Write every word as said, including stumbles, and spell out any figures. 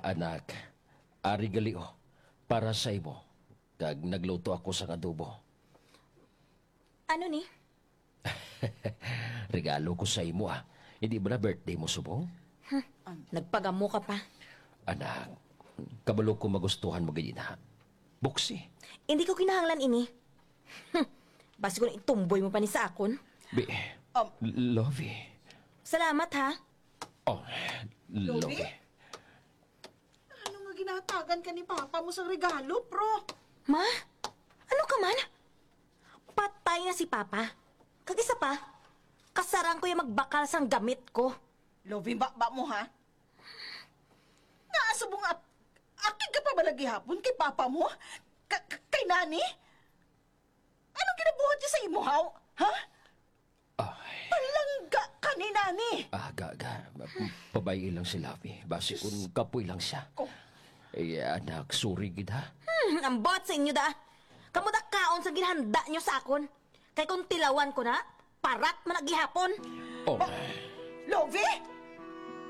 Anak, ari gali, oh, para sa imo. Kag nagluto ako sang adobo. Ano ni? Regalo ko sa imo, ah. Hindi ba na birthday mo subong? Nagpagamo ka pa. Anak, kabalo ko magustuhan mo gid ina. Buksi. Hindi ko kinahanglan ini. Hmm. Basi kung itumboy mo pa ni sa akon. Bi, Um, Lovie. Salamat, ha? Oh, Lovie? Lovie? Ano nga ginatagan ka ni Papa mo sang regalo, pro? Ma? Ano ka man? Patay na si Papa. Kag isa pa, kasarang ko yung magbakal sang gamit ko. Lovie, baba mo, ha? Naasubong ap-, akig ka pa ba lagi hapon kay Papa mo? Ka-, ka-, kay Nani? Anong ginabuhat niya sa imo, haw? Ha? Ay. Palangga ka ni Nani! Ah, ga, ga. Pabay-i lang si Lovie. Basi kung kapoy lang siya. Ko. Eh, anak, sorry gid, ha? Hmm, ang buhat sa inyo da. Kamo da kaon sa ginhanda nyo sa akon. Kay kung tilawan ko na, parat man na gihapon. Oh. Ba-, Lovie?